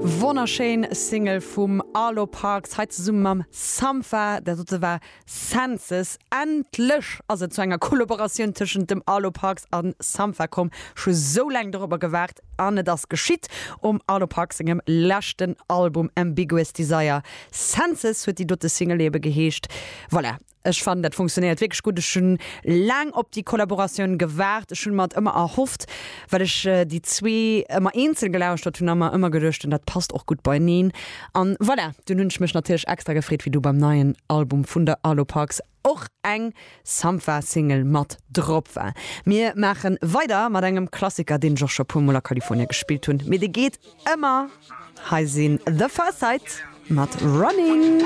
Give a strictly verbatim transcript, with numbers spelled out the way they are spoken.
Wonnerschéin Single vum Arlo Parks, hei zesumme mam Sampha. Dat dote war Senses. Endlech ass et zu enger Kollaboratioun tëschent dem Arlo Parks an Sampha komm. Scho sou laang dorobber gewaart an et ass geschitt um Arlo Parks sengem leschten Album Ambiguous Desire. Senses huet déi dote Single ebe geheescht. Voilà. Ech fannen, dat funktionéiert wierklech gutt. Ech hunn laang op déi Kollaboratioun gewaart. Ech hunn mer et ëmmer erhofft, well ech déi zwee ëmmer eenzel gelauschtert hunn a mer ëmmer geduecht hunn, dat passt och gutt beieneen. An voilà, dunn hunn ech mech natierlech extra gefreet, wéi du beim neien Album vun der Arlo Parks och eng Sampha-Single mat drop war. Mir maache weider mat engem Klassiker, deen ech och scho puer mol a Kalifornia gespillt hunn, mee dee geet ëmmer. Hei sinn The Pharcyde mat Running.